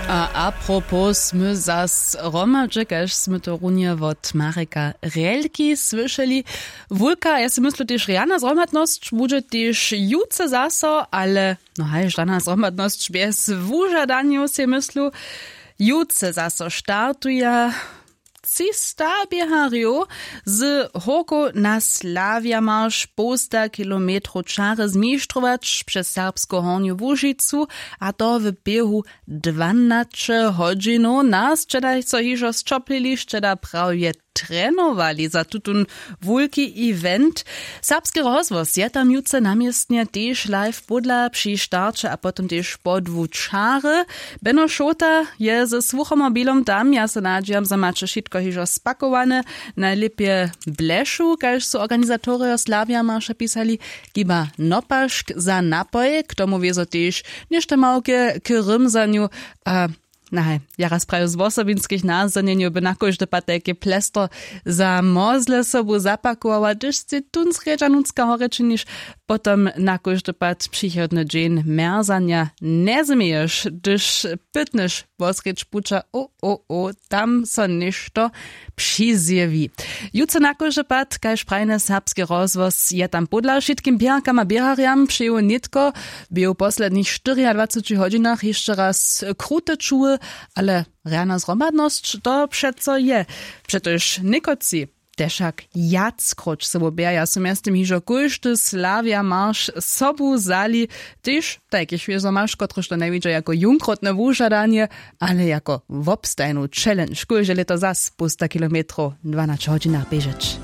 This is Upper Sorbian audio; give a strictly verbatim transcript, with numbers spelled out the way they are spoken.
A apropos smy zas hromadźe, kaž smy to runje wot Mareka Relki słyšeli. Wulka, ja sej myslu, tež rjana zhromadnosć budźe tež jutře zaso, ale no haj, žana zhromadnosć bjez wužadanjow, sej myslu. Jutře zaso startuja třista běharjow z hórkow na slawjamarš połsta kilometrow čary zmištrować přez serbsku hornju łužicu, a to w běhu dwanaće hodźinow. Nas sće da so hižo sćoplili, sće da prawje trenowali za tutón wulki event. Serbski rozhłos je tam jutře na městnje tež live pódla při starće a potom tež po dwu čary. Beno Šołta je ze słuchomobilom tam. Ja so nadźijam, zo maće wšitko hižo spakowane, najlěpje blešu, kaž su organizatorjo slawjamarša pisali, hiba nopašk za napoj. K tomu wězo tež něšto małke k rymzanju. A nahaj, ja raz praju z wosobinskich nazdanjenjow by na kóždy pad tajke plestro za mozle sobu zapakowała, hdyž sej tón srjedźa nutřka horje činiš. Potom na kóždy pad přichodny dźeń mjerzanja njezměješ, hdyž pytnyš wosrjedź puća, o o o, tam so něšto přizjewi. Jutře na kóždy pad, kaž prajny serbski rozhłos je tam pódla wšitkim běharkam a běharjam přeju nětko, bě w poslednich štyriadwaceći hodźinach hišće raz krute čuły. Ale rjana zhromadnosć to přeco je, přetož někotři tež wšak wjackróć sobu běhaja, su mjeztym hižo kóždy slawjamarš sobu wzali. Tež tajki šwěžo maš, kotryž to njewidźa jako jónkrotne wužadanje, ale jako wobstajnu challenge, kóžde lěto zas półsta kilometrow w dwanaće hodźinach běžeć.